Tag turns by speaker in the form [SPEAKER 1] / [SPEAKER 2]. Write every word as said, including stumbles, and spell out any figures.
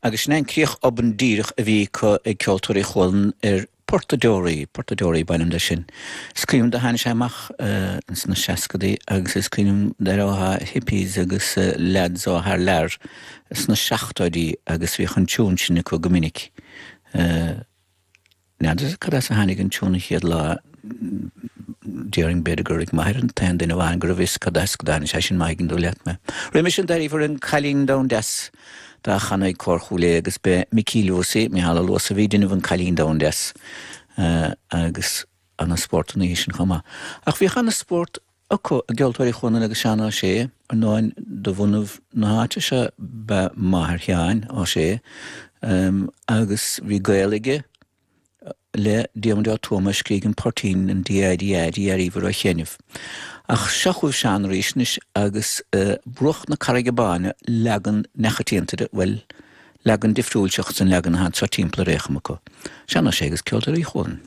[SPEAKER 1] Agus sin an críoch obann díreach a bhí ag Ceoltóirí Chualann ar Portadeoraí, Portadeoraí b'ainm de sin. Is cuimhin do tháinig sé amach uh, sna seascadaí agus is cuimhin de hippies agus uh, lads ó thar lear sna seachtóidí agus bhí an tiún sin acu go minic. Uh, N'fheadar cad as a tháinig an tiún chéad lá déarfainn b'fhéidir gur ag m'athair an t-aon duine amháin go bhfios cad as go dtáinig sé sin maigin do leat me. Roimhe sin d'aríomar an Cailín Donn Deas dá chanadh ag Cór Chúil Aodha agus be Micí Luasaí Micheál Luasa bhí déanamh an Cailín Donn Deas uh, agus an-spórt an sin chomh maith. Ach bhí an-spórt acu i gCeoltóirí Chualann agus Seán Ó Sé an nóin de bhunadh na háite se be máthair Sheáin Ó Sé um, agus bhí Gaeilge le Diarmuid Ó Tuama scríobh an poirtín an DIDI ar a chéanmh. Ach seo chugaibh Seán arís agus uh, Bruach na Carraige Báine leagan neamhchoitianta de bhuel leagan difriúil seachas an leagan atá timpeall ar récham acu. Seán Ó Sé agus Ceoltóirí Chualann.